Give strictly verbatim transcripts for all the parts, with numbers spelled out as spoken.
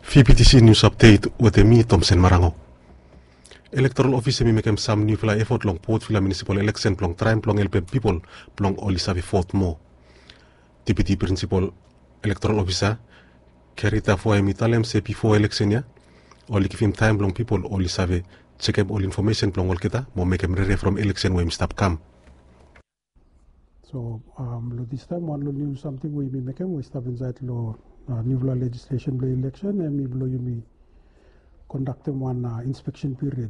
V P T C News Update wetem mi, Tomsen Marango. Elektoral Ofis hemi mekem sam niufala efot long Port Vila Munisipal Eleksen blong traem blong helpem pipol blong oli save vot moa. Deputi Prinsipal Elektoral Ofisa Kerry Tafua hemi talem se bifo eleksen ya, oli givim taem blong pipol oli save jekem ol infomesen blong olgeta mo mekem rere from eleksen we hemi stap kam. So, um, long distaem, wan long niu samting we yumi mekem we i stap insaed long, uh, niufala lejislesen blong eleksen, hemi blong yumi kondaktem wan, uh, inspeksen period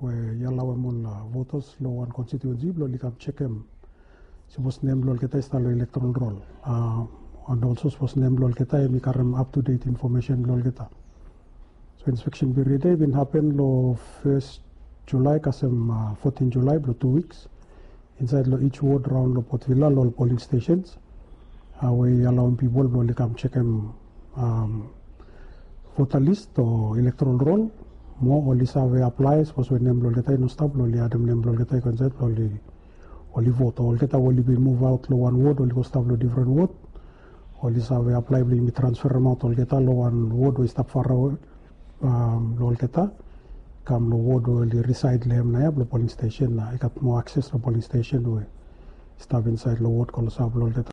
we i alaoem ol, uh, votas long wan konstitiuensi blong oli kam jekem sipos nem blong olgeta i stap long elektoral rol. Uh, and also sipos nem blong olgeta hemi karem up to date infomesen blong olgeta. So inspeksen period ya i bin hapen long fes Julae kasem, uh, fotin Julae blong tu wiks insaed long each ward raon long Port Vila long ol polling stations, uh, we i alaoem pipol blong oli kam jekem, um, vota list o elektoral rol mo oli save aplae, sipos we nem blong olgeta i no stap, blong oli adem nem blong olgeta i go insaed blong oli, oli vot. O olgeta we oli bin muvaot long wan ward oli go stap long difren ward, oli save aplae blong yumi transferemaot olgeta long wan ward we i stap farawe, um, long olgeta, kam long ward we oli risaed long hem nao ya blong polling stesen, nao i gat moa akses long polling stesen we i stap insaed long ward klosap long olgeta.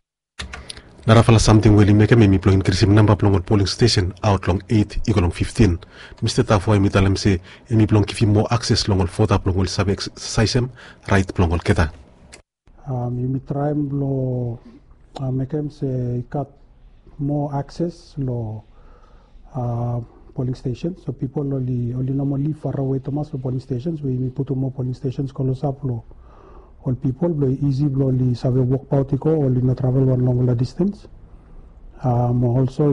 Narafala samting we oli mekem hemi blong inkrisim namba blong ol polling stesen aot long eit i go long fiftin. Mista Tafua hemi talem se hemi blong givim moa akses long ol vota blong oli save eksesaesem raet blong olgeta. Um, yumi traem blong, uh, mekem se i gat moa akses long, uh, polling stesen. So pipol oli, oli no moa liv farawe tumas long polling stesen, we yumi putum moa polling stesen klosap long ol pipol blong i isi blong oli save wokbaot i go, oli no travel wan longfala distens. Um, also